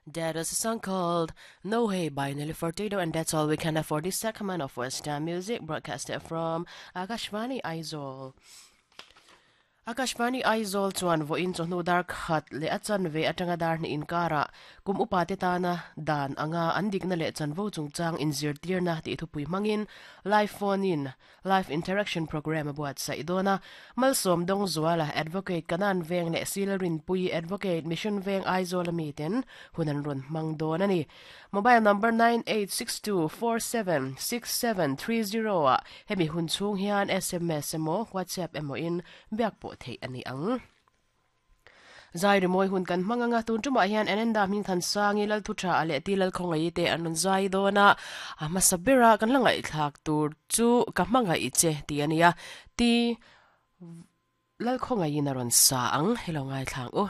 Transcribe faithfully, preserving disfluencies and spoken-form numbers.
That is a song called No Hey by Nelly Furtado, and that's all we can afford this segment of Western music broadcasted from Akashvani Aizawl. Akashvani Aizawl chuan vawiin chawhnu dar khat leh a chanve atanga dar hnih inkara kum upa te tana dan anga an dikna leh chanvo chungchang inzirtirna tih thupui hmangin live phone in live interaction program a buatsaih dawn a Malsawm Dawng Zuala advocate Kanan Veng leh Silrin Pui advocate Mission Veng Aizawl ami ten hun an rawn hmang dawn a ni mobile number nine eight six two four seven six seven three zero ah hemi hun chhung hian sms emaw whatsapp emaw in biak pawh theih a ni ang zai rimawi hun kan hmang anga tun tumah hian Ananda hming than sangi lal thu tha a leh ti lal khawngaih te an rawn zai dawn a a hmasa bera kan la ngaihthlak tur chu ka hmangaih che ti ania ti lal khawngaihin a rawn sa ang hello ngaithlang u.